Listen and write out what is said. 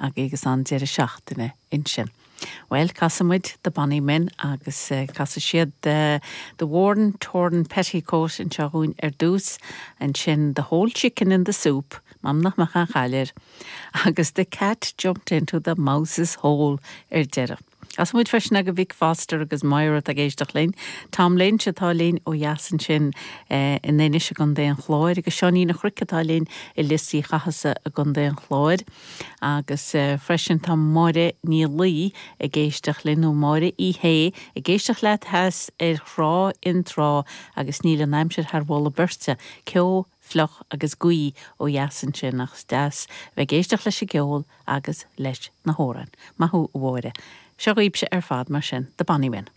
agaibh agus an deireadh seachtaine ansin. Bhuel, casfaidh muid The Bonny Men agus casfaidh siad The Worn Torn Petticoat anseo dhúinn ar dtús, ansin The Whole Chicken in the Soup, m'anam nach mbeadh aon chaill air, agus The Cat Jumped into the Mouse's Hole ar deireadh. Casfaidh muid freisin agaibh Vic Foster agus Moira atá ag éisteacht linn, Tom Lynch atá linn ó dheas ansin in Inis i gContae an Chláir agus Seáinín Ó Cnoic atá linn i Lios Uí Chathasaigh i gContae an Chláir. Agus freisin tá Máire Ní Laoi ag éisteacht linn, nó Máire Uí Shé, ag éisteacht leat theas ar Thrá Fhionntrá agus níl an aimsir thar mholadh beirte, ceo, fliuch agus gaoth ó dheas ansin ach is deas a bheith ag éisteacht leis an gceol agus leis na hamhráin. Maith thú a Mháire. Seo dhaoibhse ar fad mar sin, The Bonny Men.